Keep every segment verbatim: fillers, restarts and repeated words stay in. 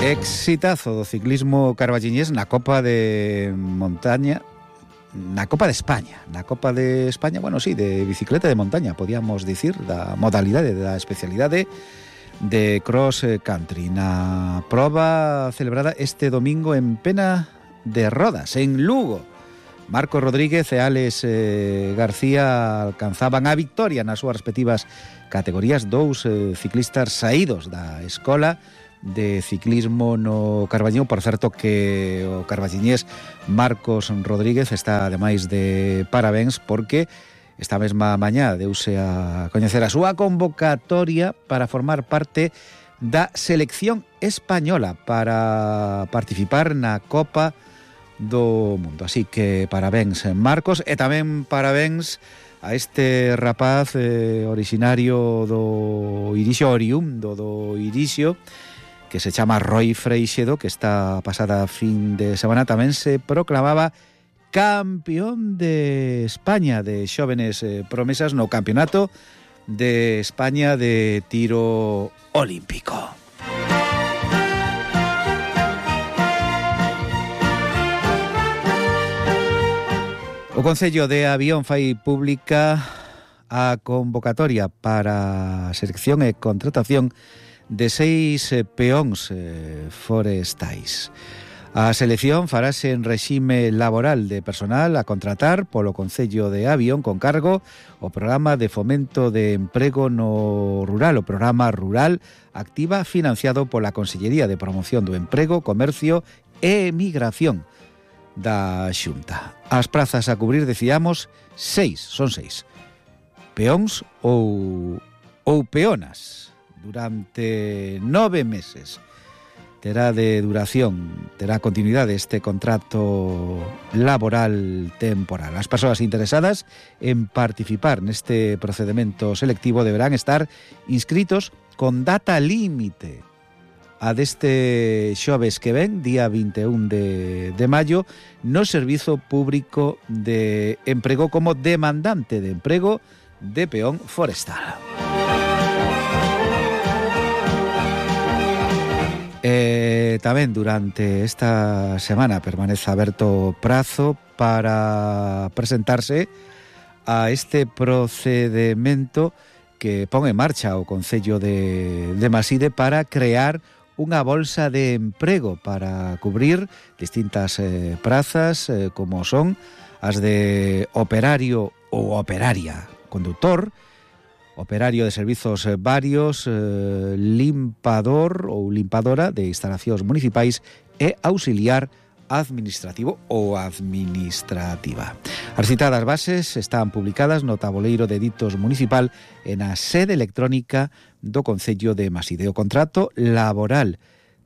Exitazo do ciclismo carballiñés na Copa de Montaña, na Copa de España, na Copa de España, bueno, sí, de bicicleta de montaña, podíamos dicir, da modalidade, da especialidade de cross country, na proba celebrada este domingo en Pena de Rodas, en Lugo. Marcos Rodríguez e Alex eh, García alcanzaban a victoria nas súas respectivas categorías, dous eh, ciclistas saídos da escola de ciclismo no Carballiño. Por certo que o carballiñés Marcos Rodríguez está ademais de parabéns porque esta mesma mañá deuse a coñecer a súa convocatoria para formar parte da selección española para participar na Copa do Mundo. Así que parabéns Marcos, e tamén parabéns a este rapaz eh, originario do Irixo, oriundo do Irixo, que se chama Roi Freixedo, que esta pasada fin de semana tamén se proclamaba campeón de España de xóvenes eh, promesas no Campeonato de España de tiro olímpico. O Concello de Avión fai pública a convocatoria para selección e contratación de seis eh, peóns eh, forestais. A selección farase en regime laboral de personal a contratar polo Concello de Avión con cargo o Programa de Fomento de Emprego no Rural, o Programa Rural Activa, financiado pola Consellería de Promoción do Emprego, Comercio e Emigración da Xunta. As prazas a cubrir, decíamos, seis, son seis. Peóns ou, ou peonas. Durante nove meses terá de duración, terá continuidade este contrato laboral temporal. As persoas interesadas en participar neste procedimento selectivo deberán estar inscritos con data límite a deste xoves que ven, día vinte e un de, de maio, no Servizo Público de Emprego como demandante de emprego de peón forestal. Eh, tamén durante esta semana permanece aberto prazo para presentarse a este procedimento que pon en marcha o Concello de, de Maside para crear unha bolsa de emprego para cubrir distintas eh, prazas eh, como son as de operario ou operaria conductor, operario de servizos varios, eh, limpador ou limpadora de instalacións municipais e auxiliar administrativo ou administrativa. As citadas bases están publicadas no taboleiro de ditos municipal e na sede electrónica do Concello de Maside. O contrato laboral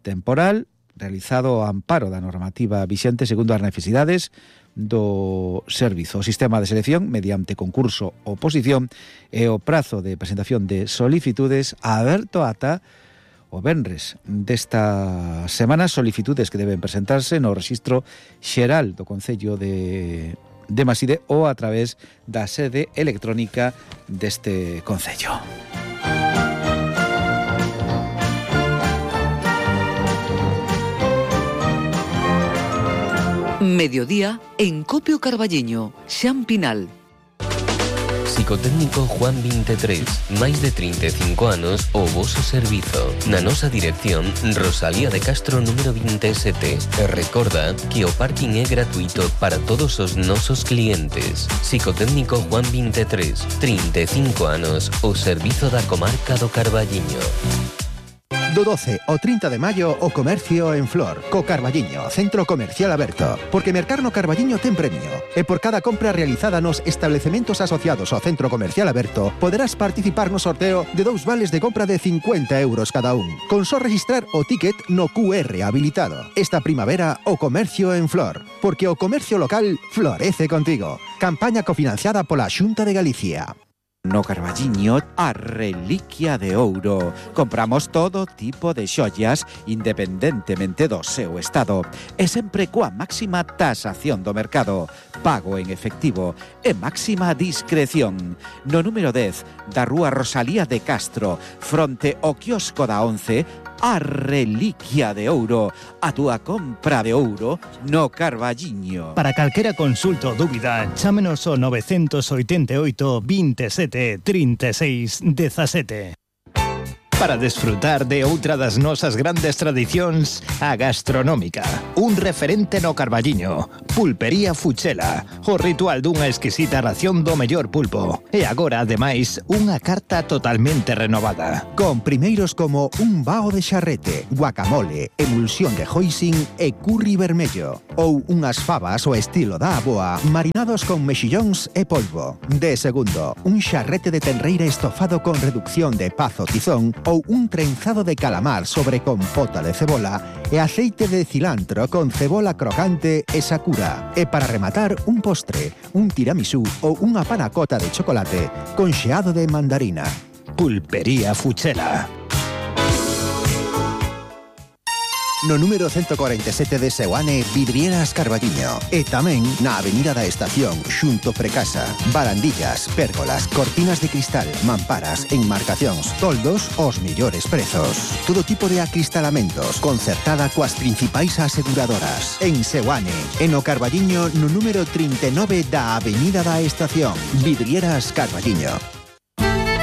temporal realizado ao amparo da normativa vixente segundo as necesidades do servizo. O sistema de selección mediante concurso ou oposición e o prazo de presentación de solicitudes aberto ata o venres desta semana, solicitudes que deben presentarse no Rexistro Xeral do Concello de, de Maside ou a través da sede electrónica deste Concello. Mediodía en Copio Carballiño, Xan Pinal. Psicotécnico Juan veintitrés, máis de trinta e cinco anos o voso servizo. Na nosa dirección, Rosalía de Castro número veintisiete. E recorda que o parking é gratuito para todos os nosos clientes. Psicotécnico Juan veintitrés, trinta e cinco anos, o servizo da comarca do Carballiño. Do doce ao trinta de maio, o comercio en Flor, co Carballiño, centro comercial aberto. Porque mercar no Carballiño ten premio. E por cada compra realizada nos establecementos asociados ao centro comercial aberto, poderás participar no sorteo de dous vales de compra de cincuenta euros cada un. Con só registrar o ticket no cu erre habilitado. Esta primavera, o comercio en Flor. Porque o comercio local florece contigo. Campaña cofinanciada pola Xunta de Galicia. No Carballiño, a reliquia de ouro. Compramos todo tipo de xollas independentemente do seu estado e sempre coa máxima tasación do mercado, pago en efectivo e máxima discreción. No número dez da rúa Rosalía de Castro, fronte ao quiosco da once, a reliquia de ouro, a túa compra de ouro no Carballiño. Para calquera consulta ou dúbida, chámenos ao nove oito oito, veintisiete, trinta e seis, dezasete. Para desfrutar de outra das nosas grandes tradicións, a gastronómica. Un referente no Carballiño. Pulpería Fuchela. O ritual dunha exquisita ración do mellor pulpo. E agora, ademais, unha carta totalmente renovada. Con primeiros como un bao de xarrete, guacamole, emulsión de hoisin e curry vermello. Ou unhas fabas ao estilo da aboa, marinados con mexillóns e polvo. De segundo, un xarrete de tenreira estofado con reducción de pazo tizón ou un trenzado de calamar sobre compota de cebola e aceite de cilantro con cebola crocante e sakura. E para rematar, un postre, un tiramisú ou unha panacota de chocolate con xeado de mandarina. Pulpería Fuchela. No número ciento cuarenta e sete de Seoane, Vidrieras Carballiño. E tamén na Avenida da Estación, xunto Precasa. Barandillas, pérgolas, cortinas de cristal, mamparas, enmarcacións, toldos, os millores prezos. Todo tipo de acristalamentos, concertada coas principais aseguradoras. En Seoane, e no Carballiño, no número trinta e nove da Avenida da Estación. Vidrieras Carballiño.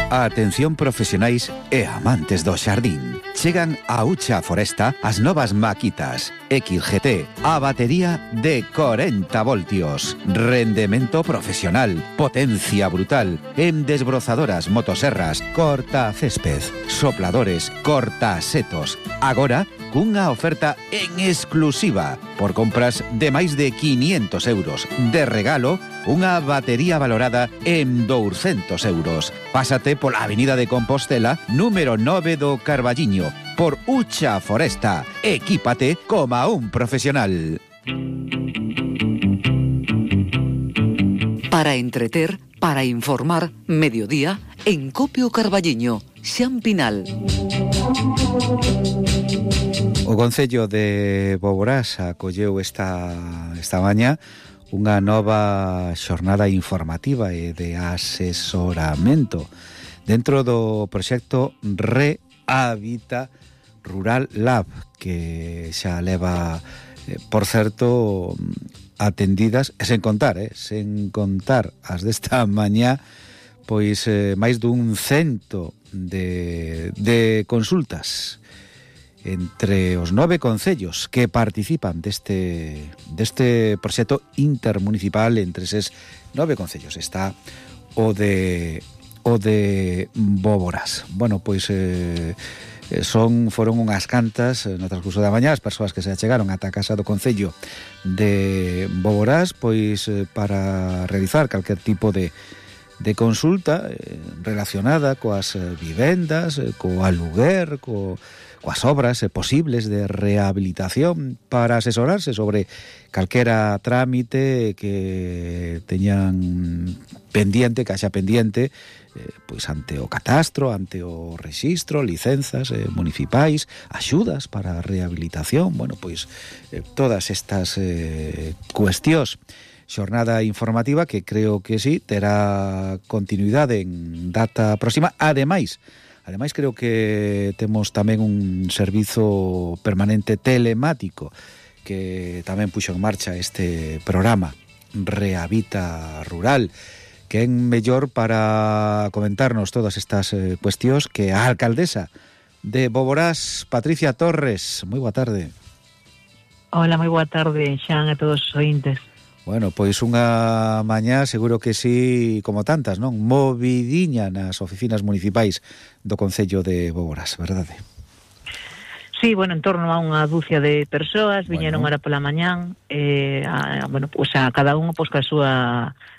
Atención profesionais e amantes do xardín. Chegan a Ucha Foresta as novas maquitas X G T, a batería de corenta voltios, rendemento profesional, potencia brutal, en desbrozadoras, motoserras, corta césped, sopladores, corta setos. Agora, cunha oferta en exclusiva por compras de máis de quinientos euros. De regalo, unha batería valorada en douscentos euros. Pásate pola Avenida de Compostela, número nove do Carballiño, por Ucha Foresta. Equípate como un profesional. Para entreter, para informar, mediodía, en Copio Carballiño, Xan Pinal. O Concello de Boborás acolleu esta, esta mañá unha nova xornada informativa e de asesoramento dentro do proxecto Rehabita Rural Lab, que xa leva, eh, por certo, atendidas, e sen contar, eh, sen contar as desta mañá, pois eh, máis dun cento de, de consultas entre os nove concellos que participan deste, deste proxecto intermunicipal. Entre eses nove concellos está o de o de Boborás. Bueno, pois eh, son foron unhas cantas no transcurso da mañá as persoas que se achegaron ata a casa do concello de Boborás, pois eh, para realizar calquer tipo de de consulta eh, relacionada coas eh, vivendas, eh, co aluguer, co coas obras eh, posibles de rehabilitación, para asesorarse sobre calquera trámite que teñan pendiente, que haxa pendiente, eh, pois ante o catastro, ante o rexistro, licenzas eh, municipais, axudas para a rehabilitación, bueno, pois eh, todas estas eh, cuestións. Xornada informativa que creo que sí terá continuidade en data próxima. Ademais, Ademais, creo que temos tamén un servizo permanente telemático que tamén puxo en marcha este programa Rehabita Rural, que é mellor para comentarnos todas estas eh, cuestións que a alcaldesa de Boborás, Patricia Torres. Moi boa tarde. Hola, moi boa tarde, Xan, a todos os ointes. Bueno, pois unha mañá seguro que sí, como tantas, non? Movidiña nas oficinas municipais do Concello de Boborás, verdade? Sí, bueno, en torno a unha dúcia de persoas, viñeron bueno. ahora pola mañán, eh, a, bueno, pues a cada unha pois pues, ca súa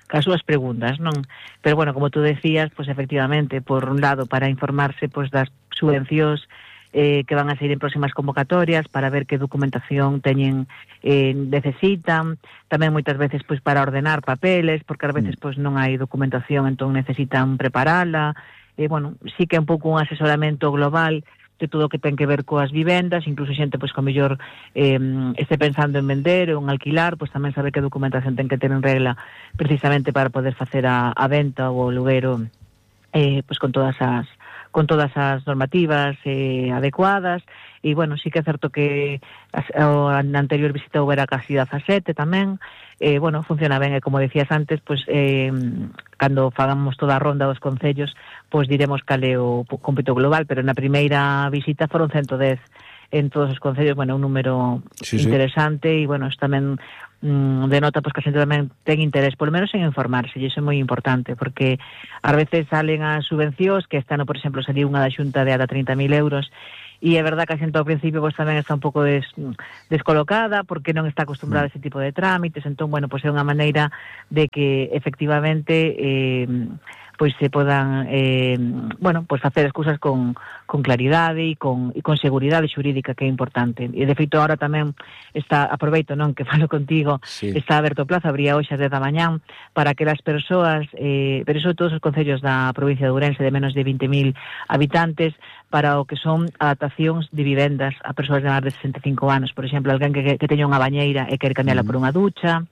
cas súas preguntas, non? Pero bueno, como tú decías, pues efectivamente, por un lado, para informarse pues das subvencións Eh, que van a sair en próximas convocatorias, para ver que documentación teñen eh, necesitan, tamén moitas veces pois para ordenar papeles, porque ás veces pois non hai documentación, entón necesitan preparala. Eh, bueno, sí que é un pouco un asesoramento global de todo o que ten que ver coas vivendas, incluso xente pois co mellor eh, este pensando en vender ou en alquilar, pois tamén saber que documentación ten que ter en regla precisamente para poder facer a, a venta ou o aluguero eh, pois con todas as con todas as normativas eh, adecuadas. e, bueno, sí que é certo que a, a anterior visita houbera casi dezasete tamén, eh, bueno, funciona ben, e como decías antes, pois, eh, cando fagamos toda a ronda dos concellos, pois diremos cal é o cómputo global, pero na primeira visita foron ciento dez en todos os concellos, bueno, un número sí, interesante, sí. E, bueno, isto tamén mm, denota pois, que a xente tamén ten interés, polo menos en informarse, e iso é moi importante, porque ás veces salen as subvencións, que este ano, por exemplo, saliu unha da Xunta de ata trinta mil euros, e é verdad que a xente ao principio pois, tamén está un pouco des, descolocada, porque non está acostumbrada a ese tipo de trámites, entón, bueno, pois é unha maneira de que efectivamente eh, pois se podan eh, bueno, pois facer as cousas con, con claridade e con, e con seguridade xurídica, que é importante. E de feito agora tamén está, aproveito, non, que falo contigo, sí. Está aberto o plazo, abría hoxe ás dez da mañán, para que as persoas, eh, pero iso todos os concellos da provincia de Ourense de menos de vinte mil habitantes, para o que son adaptacións de vivendas a persoas de máis de sesenta e cinco anos, por exemplo, alguén que, que teña unha bañeira e quer cambiarla mm. por unha ducha,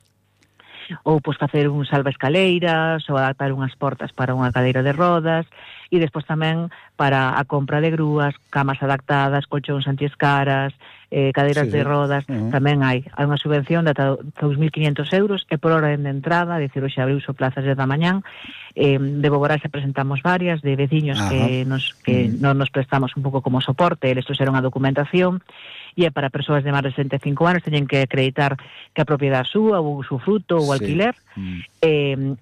ou pois facer un salvaescaleiras, ou adaptar unhas portas para unha cadeira de rodas, e despois tamén para a compra de grúas, camas adaptadas, colchóns antiescaras, eh, cadeiras sí, de rodas, uh-huh. tamén hai. Hai unha subvención de ata dous mil quinhentos euros, e por orden de entrada, dicir, hoxe abriu o plazas desde a mañán, eh, de Boborase presentamos varias, de veciños uh-huh. que, nos, que uh-huh. non nos prestamos un pouco como soporte, eles trouxeron a documentación, e é para persoas de máis de sesenta e cinco anos, teñen que acreditar que a propiedade súa, ou o fruto, ou o alquiler, sí. mm. e,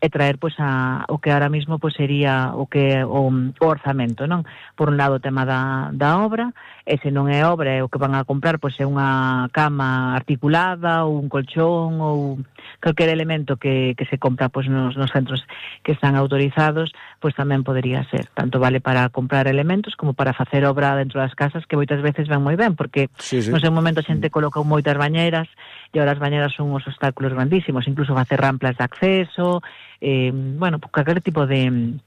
e traer pois a, o que ahora mismo pois sería o que o, o orzamento, non? Por un lado o tema da, da obra, e se non é obra, é o que van a comprar, pois é unha cama articulada, ou un colchón, ou calquer elemento que, que se compra pois nos, nos centros que están autorizados, pois tamén podería ser. Tanto vale para comprar elementos como para facer obra dentro das casas, que moitas veces ven moi ben, porque sí, sí. no seu momento a xente colocou moitas bañeras, e agora as bañeras son uns obstáculos grandísimos, incluso facer ramplas de acceso, eh, bueno, calquer tipo de...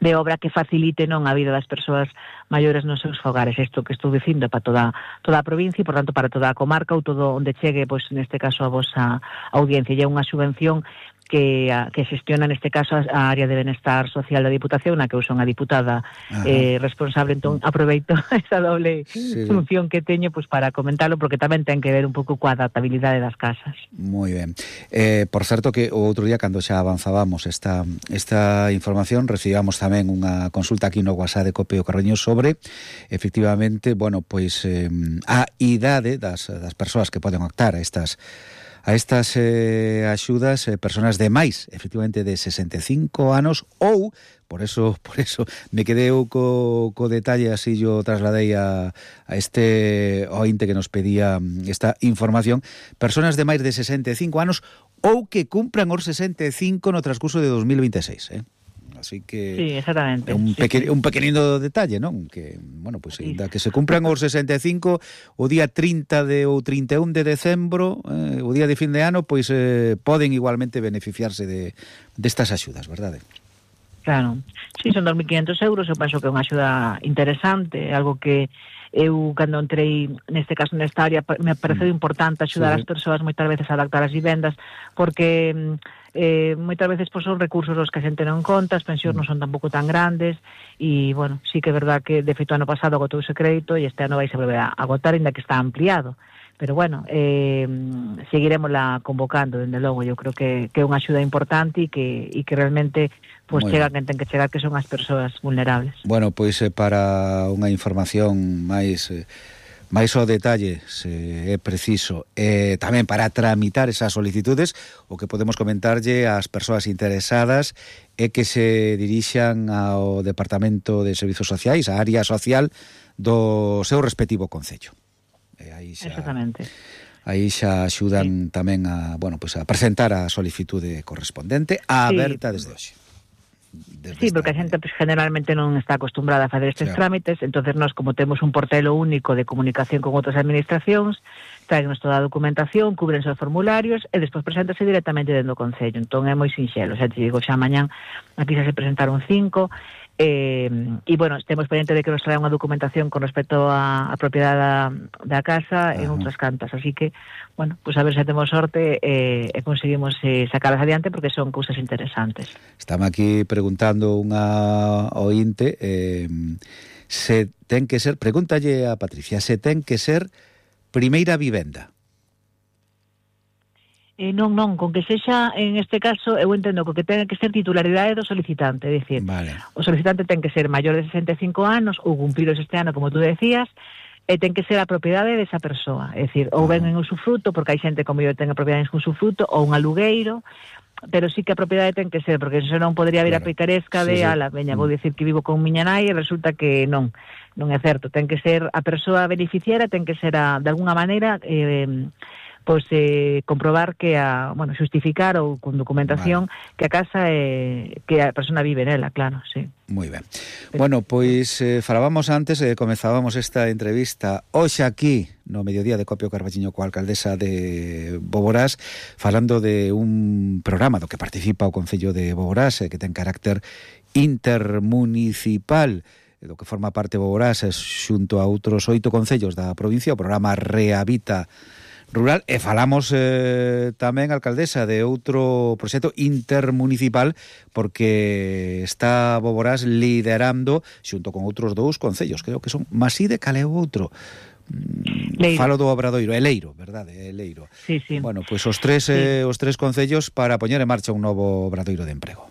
de obra que facilite non a vida das persoas maiores nos seus fogares. Isto que estou dicindo para toda toda a provincia e, por tanto, para toda a comarca, ou todo onde chegue, pois, neste caso, a vosa audiencia. E é unha subvención que, a, que xestiona, neste caso, a área de benestar social da Diputación, na que eu son a diputada eh, responsable. Entón, aproveito esa doble sí. función que teño pois, para comentarlo, porque tamén ten que ver un pouco coa adaptabilidade das casas. Moi ben. Eh, por certo que o outro día, cando xa avanzábamos esta, esta información, recibamos tamén unha consulta aquí no WhatsApp de Copio Carreño sobre, efectivamente, bueno, pois eh, a idade das, das persoas que poden optar a estas a estas eh, axudas, eh, personas de máis, efectivamente, de sesenta e cinco anos, ou, por eso por eso me quedei co, co detalle, así yo trasladei a, a este ointe que nos pedía esta información, personas de máis de sesenta e cinco anos, ou que cumpran os sesenta e cinco no transcurso de dos mil veintiséis, eh? Así que sí, exactamente. un, peque, sí, sí. un pequenino detalle, non? Que, bueno, pues, sí. da que se cumpran os sesenta e cinco o día trinta de ou trinta e un de decembro, eh, o día de fin de ano, pois eh, poden igualmente beneficiarse de destas axudas, verdade? Claro. Sí, son dos mil quinhentos euros, eu penso que é unha axuda interesante, algo que eu, cando entrei, neste caso, nesta área, me pareceu importante axudar sí. as persoas moitas veces a adaptar as vivendas, porque eh, moitas veces pois, son recursos os que a xente non conta, as pensións non son tampouco tan grandes, e, bueno, sí que é verdad que, de feito, ano pasado agotou ese crédito, e este ano vai se volver a agotar, ainda que está ampliado. Pero, bueno, eh, seguiremosla convocando, dende logo. Eu creo que, que é unha axuda importante e que, e que realmente pues, chega quen ten que chegar, que son as persoas vulnerables. Bueno, pois eh, para unha información máis... Eh, máis ao detalle, se é preciso, eh, tamén para tramitar esas solicitudes, o que podemos comentarlle ás persoas interesadas é que se dirixan ao Departamento de Servizos Sociais, a área social do seu respectivo concello. E aí xa, exactamente. Aí xa axudan sí. tamén a, bueno, pues a presentar a solicitude correspondente, a sí. aberta desde hoxe. Sí, porque a xente pues, generalmente non está acostumbrada a facer estes sí. trámites, entonces nós, como temos un portelo único de comunicación con outras administracións, traennos toda a documentación, cubrense os formularios e despois preséntase directamente dentro do Concello. Entón é moi sinxelo, xa te digo, xa mañán aquí xa se presentaron cinco, e, e bueno, temos pendiente de que nos trae unha documentación con respecto a, a propiedade da, da casa Ajá. en outras cantas, así que bueno, pues a ver se temos sorte e, e conseguimos eh, sacalas adiante, porque son cousas interesantes. Estamos aquí preguntando unha ointe eh, se ten que ser, pregúntalle a Patricia, se ten que ser primeira vivenda. Eh, non, non, con que sexa, en este caso, eu entendo que ten que ser titularidade do solicitante, é dicir, vale. O solicitante ten que ser maior de sesenta e cinco anos ou cumpridos este ano, como tú decías, e ten que ser a propiedade desa persoa, é dicir, ou ben en usufruto, porque hai xente como eu ten a propiedade en usufruto, ou un alugueiro, pero sí que a propiedade ten que ser, porque se non podría haber claro. a picaresca de, sí, sí. ala, veña, vou dicir que vivo con miña nai e resulta que non, non é certo, ten que ser a persoa beneficiaria, ten que ser a, de alguna maneira, eh, pois eh, comprobar que a, bueno, justificar ou con documentación vale. que a casa é, que a persona vive nela, claro, sí. Moi ben. Bueno, pois eh, falábamos antes, eh, comezábamos esta entrevista hoxe aquí no mediodía de Copio Carballiño coa alcaldesa de Boborás, falando de un programa do que participa o Concello de Boborás, eh, que ten carácter intermunicipal, do que forma parte Boborás, eh, xunto a outros oito concellos da provincia, o programa Rehabita Rural, e falamos eh, tamén, alcaldesa, de outro proxecto intermunicipal, porque está Boborás liderando xunto con outros dous concellos, creo que son Maside, cal é o outro? Leiro. Falo do Obradoiro, é Leiro, verdade, é Leiro. Sí, sí. Bueno, pois pues os tres sí. eh, os tres concellos para poñer en marcha un novo Obradoiro de emprego.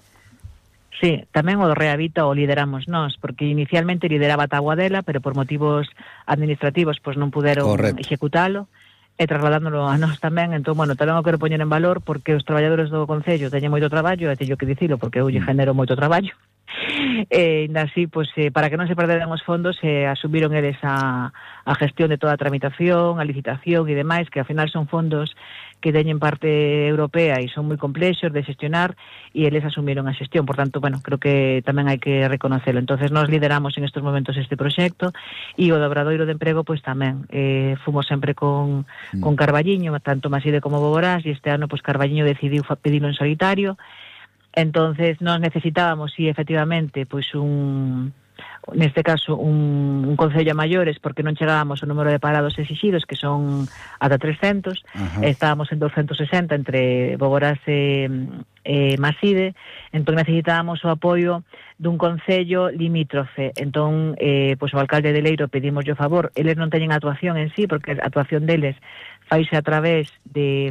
Sí, tamén o do Rehabita o lideramos nós, porque inicialmente lideraba Taguadela, pero por motivos administrativos pois non puderon Correcto. executalo, e trasladándolo a nós tamén. Entón, bueno, tamén o quero poñer en valor porque os traballadores do Concello teñen moito traballo, e teño que dicilo porque eu lle genero moito traballo. E ainda así, pois, eh, para que non se perderan os fondos, eh, asumiron eles a, a gestión de toda a tramitación, a licitación e demais, que ao final son fondos que teñen parte europea e son moi complexos de xestionar, e eles asumiron a xestión. Por tanto, bueno, creo que tamén hai que reconocerlo. Entonces, nós lideramos en estes momentos este proxecto, e o do Obradoiro de Emprego, pois tamén. Eh, fomos sempre con, mm. con Carballiño, tanto Maside como Boborás, e este ano, pois Carballiño decidiu pedirlo en solitario. Entonces, nós necesitábamos, sí, efectivamente, pois un... neste caso un, un concello a maiores, porque non chegábamos ao número de parados exixidos, que son ata trescentos. Ajá. Estábamos en doscientos sesenta entre Boborás e, e Maside, entón necesitábamos o apoio dun concello limítrofe. Entón, eh, pois o alcalde de Leiro pedimos o favor, eles non teñen actuación en sí, porque a actuación deles faise a través de...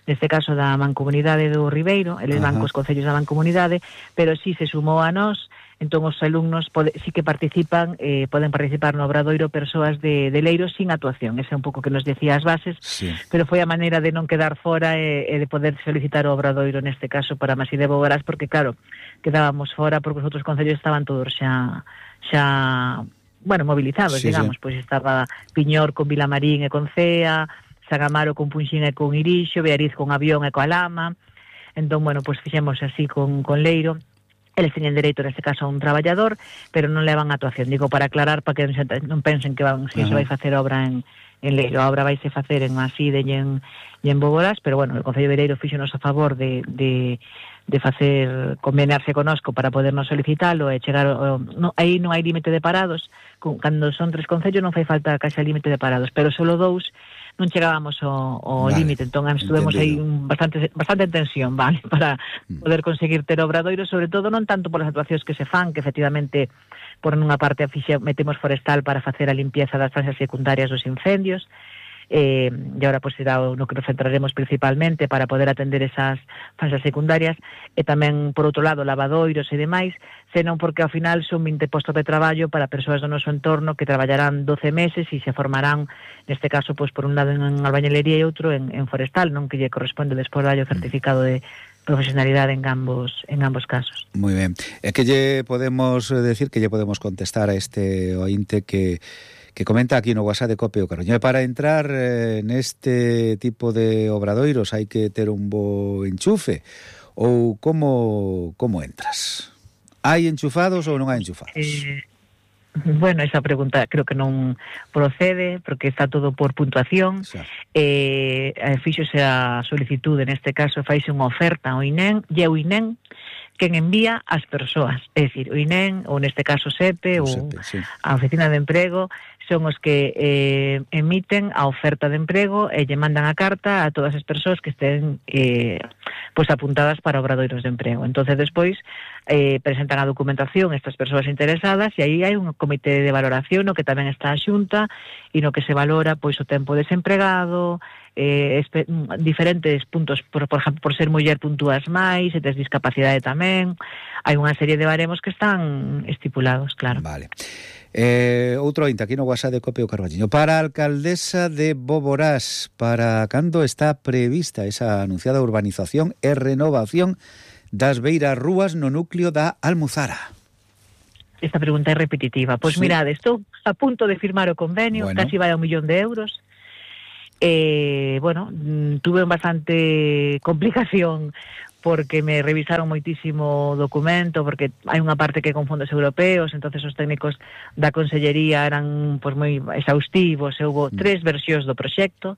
neste caso da Mancomunidade do Ribeiro, eles van cos concellos da Mancomunidade, pero si se sumou a nós, entón os alumnos pode, sí que participan, eh, poden participar no Obradoiro persoas de, de Leiro sin actuación, ese é un pouco que nos decía as bases, sí. Pero foi a maneira de non quedar fora e, e de poder solicitar o Obradoiro neste caso para Maside de Boborás, porque claro, quedábamos fora porque os outros concellos estaban todos xa, xa bueno, movilizados, sí, digamos, sí. Pois estaba Piñor con Vilamarín e con Cea, San Amaro con Punxín e con Irixo, Beariz con Avión e coa Lama. Entón, bueno, pois fixemos así con, con Leiro. Eles teñen dereito, neste caso, a un traballador, pero non levan actuación. Digo, para aclarar, para que non pensen que van, si se vai facer obra en, en Leiro. A obra vai se facer en Maside e en, e en Boborás, pero, bueno, o Concello de Leiro fixonos a favor de... de de facer convenarse conosco para podernos solicitalo e chegar o, no, aí non hai límite de parados, con, cando son tres concellos non fai falta que haxa límite de parados, pero solo dous non chegábamos ao, ao vale, límite, entón estuvemos aí un bastante bastante tensión, vale, para poder conseguir ter obradoiro, sobre todo non tanto por as actuacións que se fan, que efectivamente por unha parte afixe, metemos forestal para facer a limpieza das fases secundarias dos incendios, Eh, e agora pois será no que nos centraremos principalmente para poder atender esas fases secundarias, e tamén por outro lado lavadoiros e demais, senón porque ao final son vinte postos de traballo para persoas do noso entorno que traballarán doce meses e se formarán, neste caso pois por un lado en albañilería e outro en, en forestal, non, que lle corresponde despois darlle o certificado de profesionalidade en ambos en ambos casos. Moi ben. É que lle podemos decir, que lle podemos contestar a este ointe que que comenta aquí no WhatsApp de Copio Carballiño. Para entrar eh, neste tipo de obradoiros hai que ter un bo enchufe, ou como como entras? Hai enchufados ou non hai enchufados? Eh, bueno, esa pregunta creo que non procede, porque está todo por puntuación. Sí. Eh, fíxose a solicitude, neste caso faise unha oferta ao I N E M, e o I N E M quen envía as persoas, é dicir, o I N E M, ou neste caso SEPE, ou SEPE, sí. A Oficina de Emprego, son os que eh, emiten a oferta de emprego e lle mandan a carta a todas as persoas que estén eh, pois apuntadas para obradoiros de emprego. Entonces despois eh, presentan a documentación estas persoas interesadas e aí hai un comité de valoración no que tamén está a Xunta e no que se valora pois o tempo desempregado, eh, espe- diferentes puntos, por, por exemplo, por ser muller puntúas máis, se tes discapacidade tamén, hai unha serie de baremos que están estipulados, claro. Vale. Eh, outro ointe aquí no WhatsApp de Copio Carballiño. Para a alcaldesa de Boborás, para cando está prevista esa anunciada urbanización e renovación das beiras rúas no núcleo da Almuzara? Esta pregunta é repetitiva. Pois Sí. mirade, estou a punto de firmar o convenio, Bueno. casi vai a un millón de euros. Eh, bueno, mm, tuve bastante complicación porque me revisaron moitísimo documento, porque hai unha parte que con fondos europeos, entonces os técnicos da Consellería eran pois moi exhaustivos, e houve tres versións do proxecto,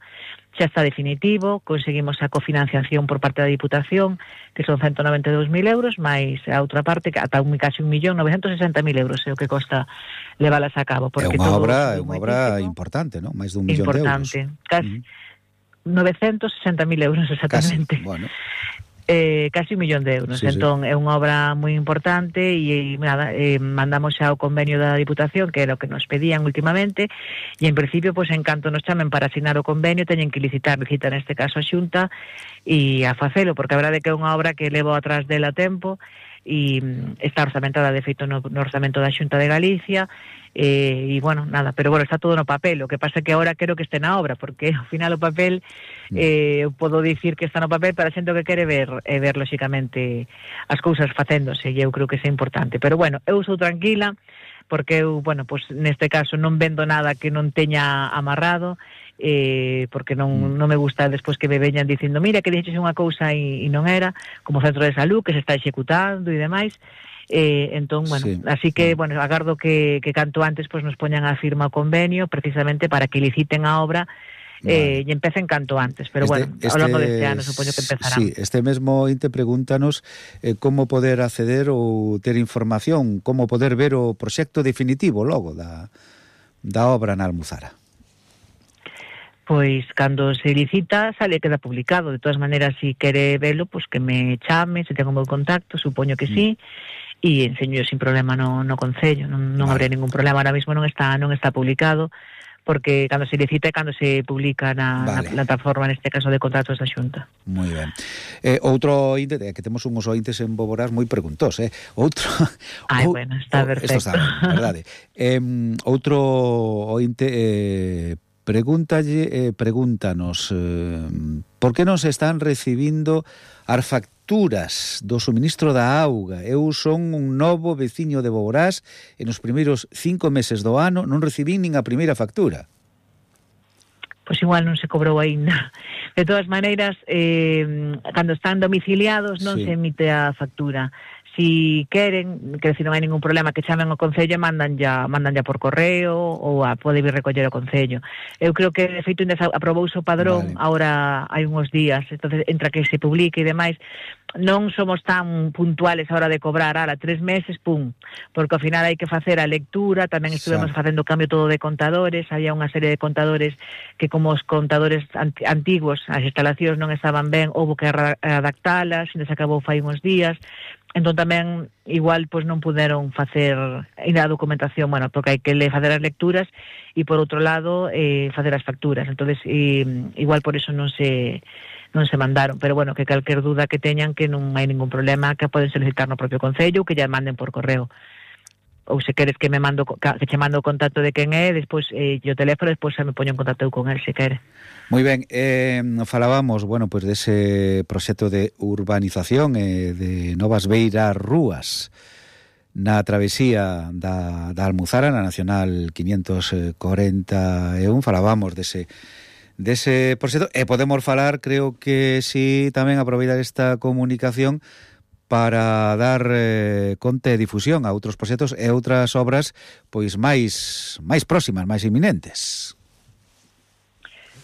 xa está definitivo, conseguimos a cofinanciación por parte da Diputación, que son ciento noventa e dous mil euros, máis a outra parte, que ata un, casi un millón novecentos e sesenta mil euros é o que costa levalas a cabo. É unha obra, é unha obra importante, non? Máis dun millón importante, de euros. casi Mm. novecentos e sesenta mil euros exactamente. Casi, bueno. Eh, casi un millón de euros, Sí, entón é unha obra moi importante e, e nada, eh, mandamos xa o convenio da Diputación, que era o que nos pedían últimamente, e en principio, pois en canto nos chamen para asinar o convenio, teñen que licitar, licitar neste caso a Xunta e a facelo, porque a verdade é que é unha obra que levo atrás dela tempo e mm, está orzamentada de feito no, no orzamento da Xunta de Galicia. E, e bueno, nada, pero bueno, está todo no papel. O que pasa é que agora quero que este na obra, porque ao final o papel eh, eu podo dicir que está no papel para a xente que quere ver, eh, ver lóxicamente as cousas facéndose, e eu creo que é importante. Pero bueno, eu sou tranquila porque eu, bueno, pues neste caso non vendo nada que non teña amarrado, eh, porque non, non me gusta despois que me veñan dicindo mira que dixeches unha cousa e, e non era, como centro de salud que se está executando e demais. Eh, entón, bueno, Sí. así que, bueno, agardo que, que canto antes pues nos poñan a firma o convenio precisamente para que liciten a obra eh, Vale. e empecen canto antes, pero Este- bueno, este- ao longo deste ano supoño que empezarán. Sí, este mesmo inte pregúntanos eh, como poder acceder ou ter información, como poder ver o proxecto definitivo logo da, da obra na Almuzara. Pois cando se licita sale queda publicado. De todas maneiras, si quere velo, pois que me chame, se tengo o meu contacto, supoño que sí, e enseño sin problema no, no Concello, non, non Vale. habrá ningún problema. Ahora mismo non está non está publicado, porque cando se licita é cando se publica na, Vale. na plataforma, neste caso de contratos da Xunta. Moi ben. Eh, outro ointe, é que temos uns ointes en Boborás moi preguntós, eh? Outro... Ai, ou- bueno, está ou- perfecto. Esto está ben, verdade. Eh, outro ointe eh, pregúntalle, eh, pregúntanos eh, por que non se están recibindo as facturas do suministro da auga. Eu son un novo veciño de Boborás e nos primeiros cinco meses do ano non recibín nin a primeira factura. Pois igual non se cobrou aínda. De todas maneiras, eh, cando están domiciliados non Sí. se emite a factura. Si queren, que decir, non hai ningún problema, que chamen ao Concello e mandan ya, mandan ya por correo ou a pode vir recoller ao Concello. Eu creo que, de feito, ainda aprobouse o padrón, Vale. ahora hai uns días, entonces entra que se publique e demais. Non somos tan puntuales a hora de cobrar, ala, tres meses, pum, porque ao final hai que facer a lectura, tamén estuvemos Xa. facendo cambio todo de contadores, había unha serie de contadores que como os contadores anti- antigos, as instalacións non estaban ben, houve que ra- adaptalas, ainda se acabou fai uns días, entón tamén igual pois non puderon facer ainda a documentación, bueno, porque hai que le facer as lecturas e por outro lado eh, facer as facturas, entonces eh, igual por eso non se non se mandaron, pero bueno, que calquer duda que teñan que non hai ningún problema, que poden solicitar no propio Concello, que ya manden por correo. Ou se queres que me mando que che mando o contacto de quen é, despois eh, o teléfono, despois xa me poño en contacto eu con el se quere. Moi ben, eh, falábamos, bueno, pois pues dese proxecto de urbanización e eh, de novas beiras rúas na travesía da, da Almuzara, na Nacional quinientos corenta e un, falábamos dese dese proxecto e podemos falar, creo que si tamén aproveitar esta comunicación para dar eh, conta e difusión a outros proxectos e outras obras pois máis máis próximas, máis inminentes.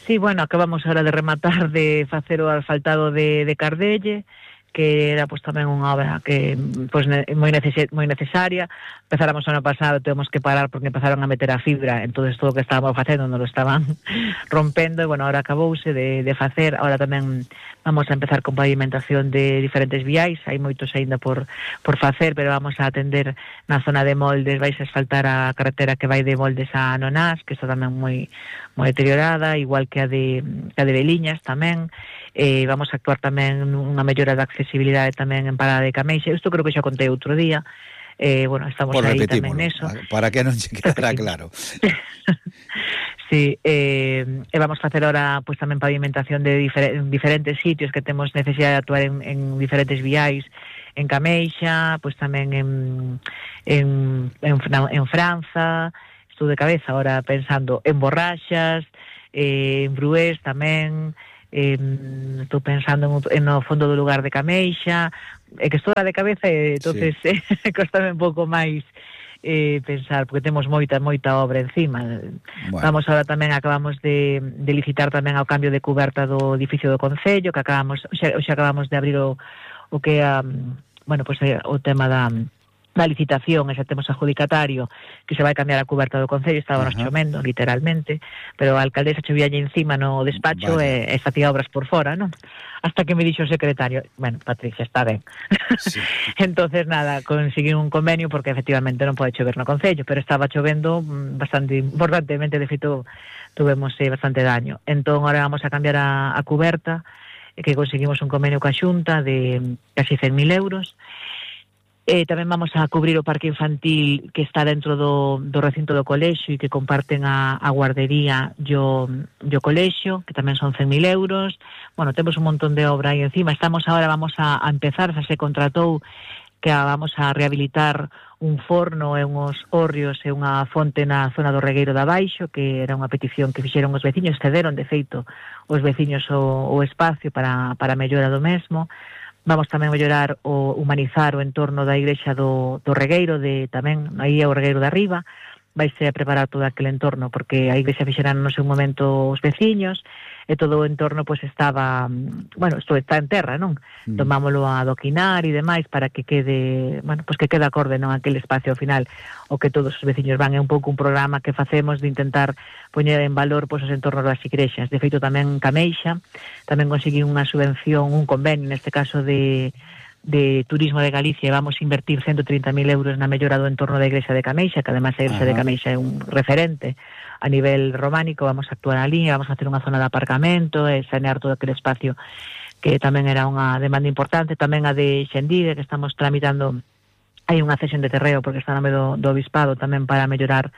Sí, bueno, acabamos ahora de rematar de facer o asfaltado de, de Cardelle, que era pues tamén unha obra que pues ne, moi, neces moi necesaria. Empezáramos o ano pasado, temos que parar porque empezaron a meter a fibra, entonces todo o que estábamos facendo non lo estaban rompendo, e bueno, ahora acabouse de, de facer. Ahora tamén vamos a empezar con pavimentación de diferentes viais, hai moitos aínda por, por facer, pero vamos a atender na zona de Moldes, vais a asfaltar a carretera que vai de Moldes a Nonás, que está tamén moi moi deteriorada, igual que a de, que a de Beliñas tamén. Eh, vamos a actuar tamén nunha mellora da accesibilidade tamén en Parada de Cameixa. Isto creo que xa contei outro día. Eh, bueno, estamos por aí tamén neso. Para que non se quedara claro. Sí, eh, e vamos a facer ahora pues, tamén pavimentación de difer diferentes sitios que temos necesidade de actuar en, en diferentes viais, en Cameixa, pues tamén en, en, en, en Franza. Estou de cabeza ahora pensando en Borraxas, eh, en Brués tamén. Eh, estou pensando en, en no fondo do lugar de Cameixa, é que estou de cabeza e entonces sí. eh, costame un pouco máis eh, pensar, porque temos moita moita obra encima. Bueno. Vamos ahora tamén, acabamos de, de licitar tamén ao cambio de cuberta do edificio do Concello, que acabamos, xa, xa acabamos de abrir o, o que é, um, bueno, pues, o tema da da licitación, e xa temos adjudicatario que se vai cambiar a cuberta do Concello. Estábamos chovendo, literalmente, pero a alcaldesa chovíalle encima no despacho e, e facía obras por fora, non? Hasta que me dixo o secretario, bueno, Patricia, está ben. Sí. Entonces, nada, conseguí un convenio, porque efectivamente non pode chover no Concello, pero estaba chovendo bastante importantemente, de feito, tuvemos eh, bastante daño. Entón, ahora vamos a cambiar a, a cuberta, e que conseguimos un convenio coa Xunta de casi cen mil euros. Eh, tamén vamos a cubrir o parque infantil que está dentro do, do recinto do colexio e que comparten a, a guardería e o, o colexio, que tamén son cen mil euros. Bueno, temos un montón de obra aí encima. Estamos ahora, vamos a, a empezar, xa se contratou que a, vamos a rehabilitar un forno e unhos hórreos e unha fonte na zona do Regueiro de Abaixo, que era unha petición que fixeron os veciños, cederon de feito os veciños o, o espacio para, para a mellora do mesmo. Vamos tamén a mellorar o humanizar o entorno da igrexa do, do Regueiro, de tamén aí é o Regueiro de Arriba. Vaise a preparar todo aquele entorno, porque a igrexa fixeran no seu momento os veciños, e todo o entorno pois estaba, bueno, isto está en terra, non? Mm. Tomámolo a adoquinar e demais para que quede, bueno, pois que quede acorde, non, aquele espacio ao final o que todos os veciños van. É un pouco un programa que facemos de intentar poñer en valor pois os entornos das igrexas. De feito, tamén Cameixa tamén conseguí unha subvención, un convenio, neste caso de de Turismo de Galicia, e vamos a invertir ciento trinta mil euros na mellora do entorno da igrexa de Cameixa, que además a igrexa Ajá. de Cameixa é un referente a nivel románico. Vamos a actuar ali, vamos a hacer unha zona de aparcamento e sanear todo aquele espacio que tamén era unha demanda importante. Tamén a de Xendive, que estamos tramitando, hai unha cesión de terreo porque está no nome do, do obispado tamén para mellorar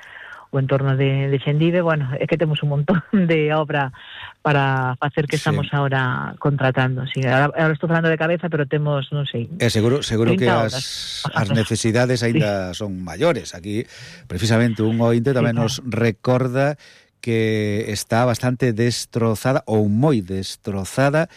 o entorno de, de Xendive. Bueno, é que temos un montón de obra para facer que estamos sí. ahora contratando. Sí, ahora, ahora estou falando de cabeza, pero temos, non sei... É seguro, seguro que as, as necesidades aínda sí. son maiores. Aquí, precisamente, un ointe tamén sí, nos recorda que está bastante destrozada, ou moi destrozada,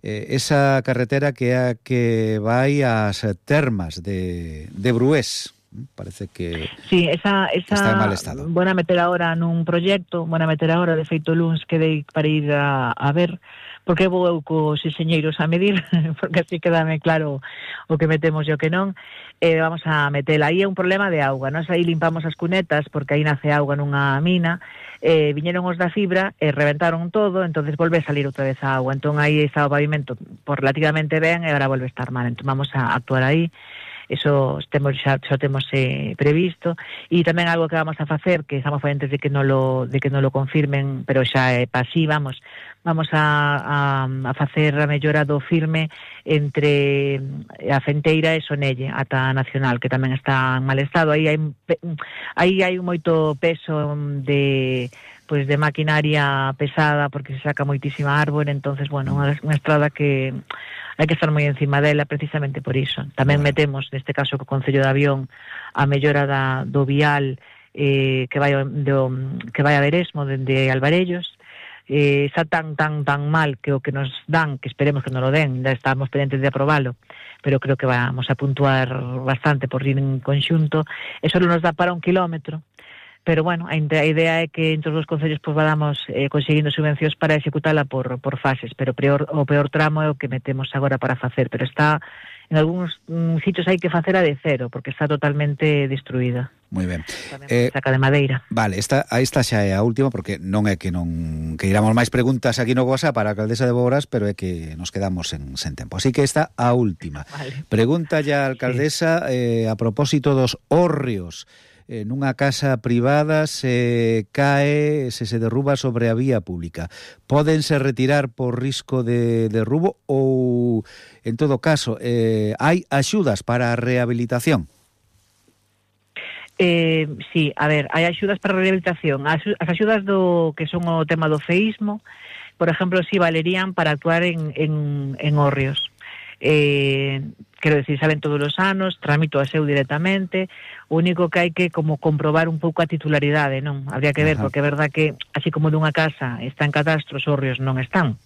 eh, esa carretera que é a que vai ás termas de, de Brués. Parece que sí, esa, esa está en mal estado. Buena meter ahora nun proxecto, buena meter ahora, de feito luns quedei para ir a, a ver, porque vou eu cos enxeñeiros a medir, porque así quedame claro o que metemos e o que non. Eh, vamos a metela. Aí é un problema de auga, nós aí limpamos as cunetas, porque aí nace auga nunha mina, eh, viñeron os da fibra e reventaron todo, entonces volve a salir outra vez a auga. Entón aí está o pavimento por relativamente ben e agora volve a estar mal, entón vamos a actuar aí. Eso temos, xa, xa temos eh, previsto. E tamén algo que vamos a facer, que estamos antes de que non lo, de que non lo confirmen, pero xa é pasí, vamos, vamos a, a, a facer a mellora do firme entre a Fenteira e Sonelle ata a Nacional, que tamén está en mal estado. Aí hai, aí hai moito peso de... pois de maquinaria pesada, porque se saca moitísima árbore, entonces, bueno, unha, unha estrada que hai que estar moi encima dela precisamente por iso. Tamén bueno. metemos, neste caso, co Concello de Avión, a mellora da, do vial eh, que vai do, que vai a Veresmo, dende Alvarellos. Eh, está tan, tan, tan mal que o que nos dan, que esperemos que nos lo den, ya estamos pendientes de aprobalo, pero creo que vamos a puntuar bastante por ir en conxunto. Eso nos dá para un kilómetro. pero bueno, a idea é que entre os dos concellos pues, vamos eh, conseguindo subvencións para executala por, por fases, pero peor, o peor tramo é o que metemos agora para facer, pero está en algúns mm, sitios hai que facer a de cero, porque está totalmente destruída. Moi ben. Eh, saca de madeira. Vale, esta, a esta xa é a última, porque non é que non que iramos máis preguntas aquí no WhatsApp para a alcaldesa de Boborás, pero é que nos quedamos en, sen tempo. Así que esta a última. Vale. Pregunta ya a alcaldesa sí. eh, a propósito dos hórreos. Eh, nunha casa privada se cae, se se derruba sobre a vía pública. Pódense retirar por risco de derrubo ou, en todo caso, eh, hai axudas para a rehabilitación? Eh, sí, a ver, hai axudas para a rehabilitación. As, as axudas do que son o tema do feísmo, por exemplo, si valerían para actuar en, en, en hórreos. Eh, quero decir, saben todos os anos, tramito a seu directamente, o único que hai que como comprobar un pouco a titularidade, non? Habría que ver, Ajá. porque é verdad que así como dunha casa está en catastro, os hórreos non están.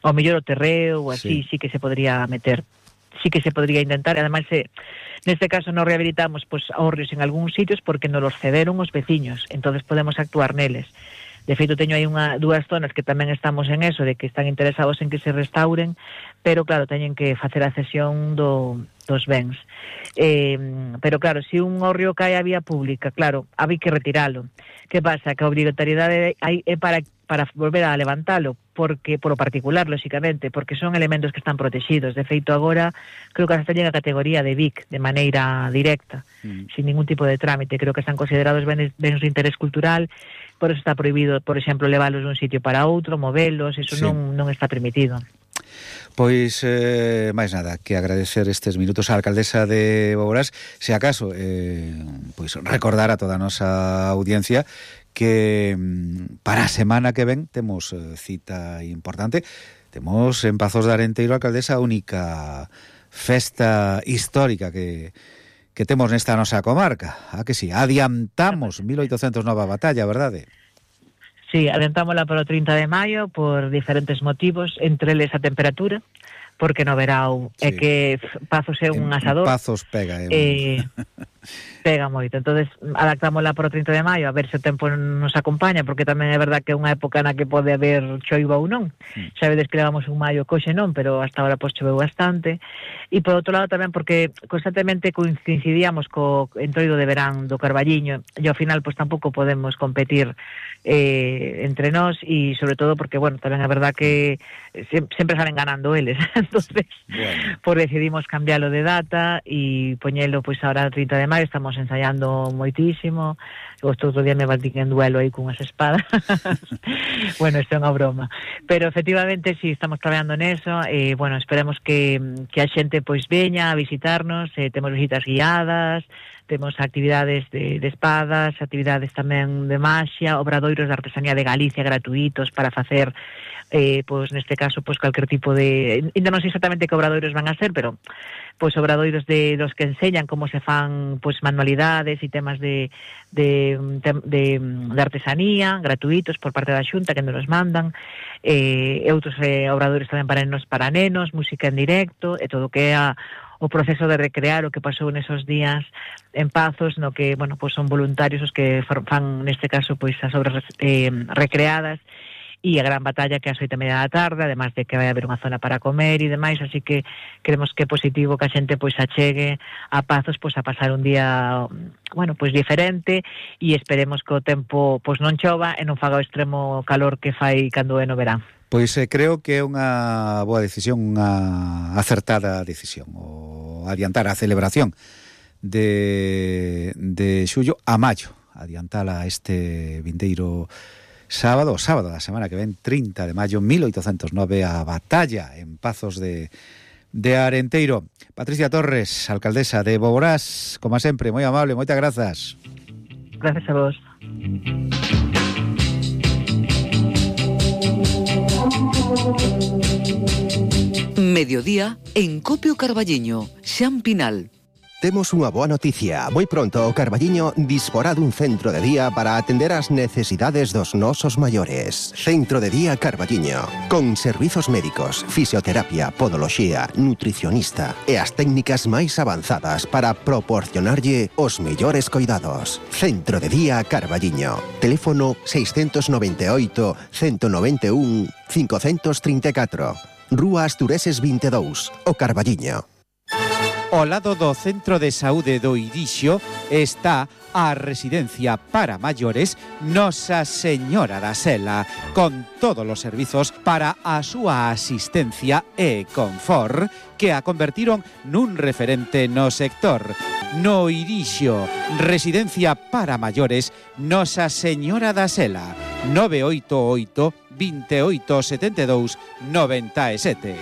Ao mellor o terreo ou así, sí. sí que se podría meter, sí que se podría intentar, e ademais se, neste caso non rehabilitamos pues, hórreos en algúns sitios porque nos los cederon os veciños, entonces podemos actuar neles. De feito, teño aí unha, dúas zonas que tamén estamos en eso, de que están interesados en que se restauren, pero claro, teñen que facer a cesión do, dos bens. Eh, pero claro, se un hórreo cae a vía pública, claro, hai que retiralo. Que pasa? Que a obrigatoriedade hai é para, para volver a levantalo, porque por o particular, lóxicamente, porque son elementos que están protegidos. De feito, agora, creo que hasta llega a categoría de V I C, de maneira directa, mm. sin ningún tipo de trámite. Creo que están considerados bens, bens de interés cultural, por eso está prohibido, por exemplo, leválos dun sitio para outro, movelos, eso sí. non, non está permitido. Pois, eh, máis nada, que agradecer estes minutos á alcaldesa de Boborás, se acaso, eh, pois recordar a toda a nosa audiencia que para a semana que ven temos eh, cita importante, temos en Pazos de Arenteiro, alcaldesa, a única festa histórica que que temos nesta nosa comarca. A que sí, adiantamos mil oitocentos nove a batalla, verdade? Sí, adiantámola para o trinta de maio por diferentes motivos, entre eles a temperatura, porque no verao sí. é que Pazos é un asador. Pazos pega, eh. eh pega moito. Entonces, adaptámola para o trinta de maio a ver se o tempo nos acompaña, porque tamén é verdad que é unha época na que pode haber choiva ou non. Mm. Xa vedes que levamos un maio coxe non, pero hasta ahora pois choveu bastante. E por outro lado tamén porque constantemente coincidíamos co entroido de verán do Carballiño e ao final pois tampouco podemos competir eh, entre nós e sobre todo porque, bueno, tamén é verdad que sempre salen ganando eles. Entonces, bueno, pues decidimos cambiarlo de data e poñelo pois ahora o trinta de maio, estamos ensayando moitísimo. Outro día me batín en duelo aí cunhas espadas. Bueno, isto é unha broma. Pero efectivamente si sí, estamos traballando neso e, bueno, esperemos que, que a xente pois veña a visitarnos, eh, temos visitas guiadas, temos actividades de, de espadas, actividades tamén de maxia, obradoiros de artesanía de Galicia gratuitos para facer eh, pois neste caso pois calquer tipo de, ainda non sei exactamente que obradoiros van a ser, pero pois obradoiros de los que enseñan como se fan pois manualidades e temas de de, de, de, de artesanía gratuitos por parte da Xunta que nos mandan, eh, e outros eh, obradoiros tamén para nenos, para nenos, música en directo e todo o que é a o proceso de recrear o que pasou nesos días en Pazos, no que, bueno, pois son voluntarios os que fan neste caso pois as obras eh, recreadas e a gran batalla que é as oito e media da tarde, además de que vai haber unha zona para comer e demais, así que creemos que é positivo que a xente pois achegue a Pazos pois a pasar un día, bueno, pois diferente e esperemos que o tempo pois non chova e non faga o extremo calor que fai cando é no verán. Pois eh, creo que é unha boa decisión, unha acertada decisión, o adiantar a celebración de, de xullo a maio, adiantala este vindeiro sábado, sábado da semana que ven, trinta de maio, mil oitocentos nove, a batalla en Pazos de, de Arenteiro. Patricia Torres, alcaldesa de Boborás, como sempre, moi amable, moitas grazas. Gracias a vos. Mediodía en Copio Carballiño, Xan Pinal. Temos unha boa noticia. Moi pronto o Carballiño disporá dun centro de día para atender as necesidades dos nosos maiores. Centro de día Carballiño, con servizos médicos, fisioterapia, podoloxía, nutricionista e as técnicas máis avanzadas para proporcionarlle os mellores coidados. Centro de día Carballiño. Teléfono seiscentos noventa e oito, ciento noventa e un, quinhentos trinta e catro. Rúa Astureses vinte e dous, o Carballiño. Ao lado do Centro de Saúde do Irixo está a residencia para maiores Nosa Señora da Sela, con todos os servizos para a súa asistencia e confort que a convertiron nun referente no sector. No Irixo, residencia para maiores Nosa Señora da Sela, nove oito oito, veintiocho setenta e dous, noventa e sete.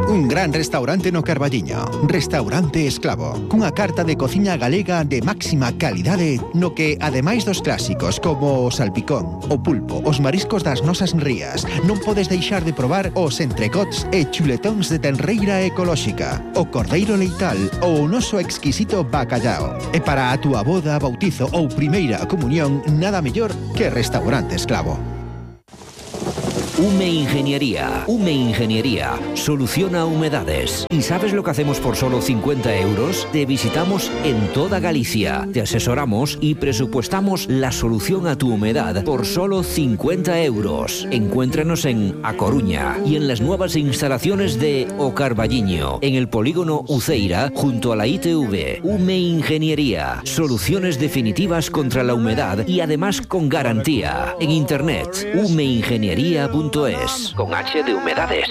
Un gran restaurante no Carballiño, Restaurante Esclavo, cunha carta de cociña galega de máxima calidade no que, ademais dos clásicos como o salpicón, o pulpo, os mariscos das nosas rías, non podes deixar de probar os entrecots e chuletóns de tenreira ecolóxica, o cordeiro leital ou o noso exquisito bacallao. E para a túa boda, bautizo ou primeira comunión, nada mellor que Restaurante Esclavo. Ume Ingeniería. Ume Ingeniería soluciona humedades. ¿Y sabes lo que hacemos por solo cincuenta euros? Te visitamos en toda Galicia, te asesoramos y presupuestamos la solución a tu humedad por solo cincuenta euros. Encuéntranos en A Coruña y en las nuevas instalaciones de O Carballiño, en el polígono Uceira, junto a la I T V. Ume Ingeniería. Soluciones definitivas contra la humedad y además con garantía. En internet, umeingeniería punto es, con H de humedades.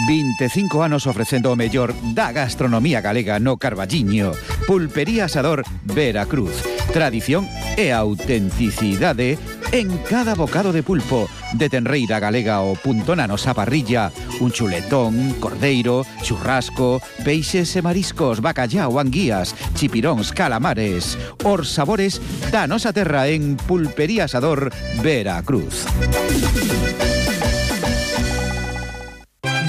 vinte e cinco anos ofrecendo o mellor da gastronomía galega no Carballiño. Pulpería Asador Veracruz. Tradición e autenticidade en cada bocado de pulpo. De tenreira galega o punto na nosa parrilla. Un chuletón, cordeiro, churrasco, peixes e mariscos, bacallao, anguías, chipiróns, calamares. Os sabores da nosa terra en Pulpería Asador Veracruz.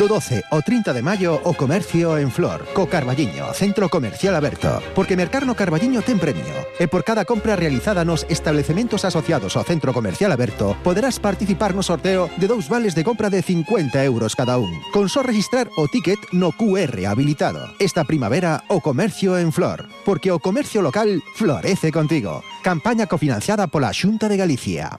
Do doce ao trinta de maio o comercio en Flor, co Carballiño, centro comercial aberto. Porque mercar no Carballiño ten premio. E por cada compra realizada nos establecementos asociados ao centro comercial aberto, poderás participar no sorteo de dous vales de compra de cincuenta euros cada un. Con só registrar o ticket no cu erre habilitado. Esta primavera o comercio en Flor. Porque o comercio local florece contigo. Campaña cofinanciada pola Xunta de Galicia.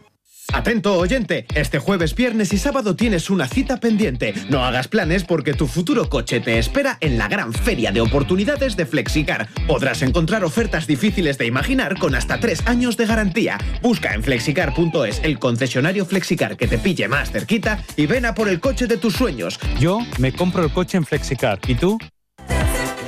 Atento, oyente, este jueves, viernes y sábado tienes una cita pendiente. No hagas planes porque tu futuro coche te espera en la gran feria de oportunidades de Flexicar. Podrás encontrar ofertas difíciles de imaginar con hasta tres años de garantía. Busca en flexicar punto es el concesionario Flexicar que te pille más cerquita y ven a por el coche de tus sueños. Yo me compro el coche en Flexicar. ¿Y tú?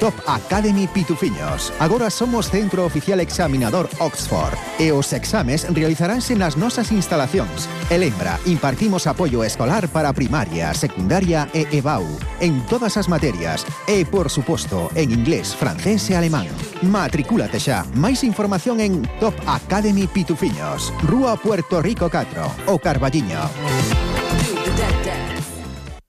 Top Academy Pitufiños. Agora somos centro oficial examinador Oxford e os exames realizaránse nas nosas instalacións. E lembra, impartimos apoio escolar para primaria, secundaria e E B A U en todas as materias e, por suposto, en inglés, francés e alemán. Matricúlate xa. Máis información en Top Academy Pitufiños, Rúa Puerto Rico catro, O Carballiño.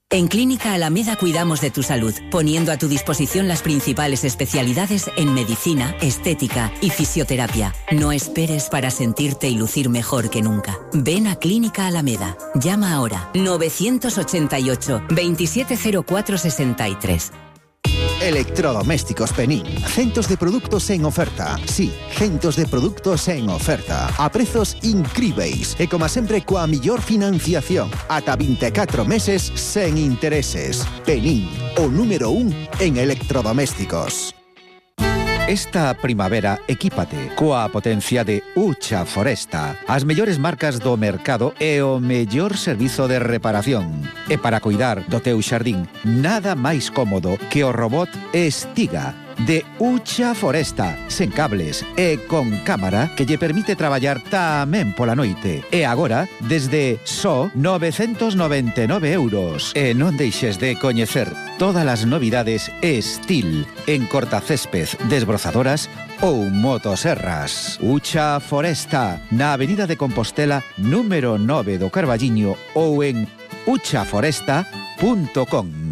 En Clínica Alameda cuidamos de tu salud, poniendo a tu disposición las principales especialidades en medicina, estética y fisioterapia. No esperes para sentirte y lucir mejor que nunca. Ven a Clínica Alameda. Llama ahora novecientos ochenta y ocho, veintisiete cero cuatro sesenta y tres. Electrodomésticos Penín. Centos de produtos en oferta. Sí, centos de produtos en oferta. A prezos incríveis. E como sempre coa millor financiación. Ata vinte e catro meses sen intereses. Penín, o número un en electrodomésticos. Esta primavera equípate coa potencia de Ucha Foresta, as mellores marcas do mercado e o mellor servizo de reparación. E para cuidar do teu xardín, nada máis cómodo que o robot Estiga de Ucha Foresta, sen cables e con cámara que lle permite traballar tamén pola noite. E agora, desde só novecentos noventa e nove euros. E non deixes de coñecer todas as novidades Estil en cortacésped, desbrozadoras ou motoserras. Ucha Foresta, na Avenida de Compostela, número nove do Carballiño ou en ucha foresta punto com.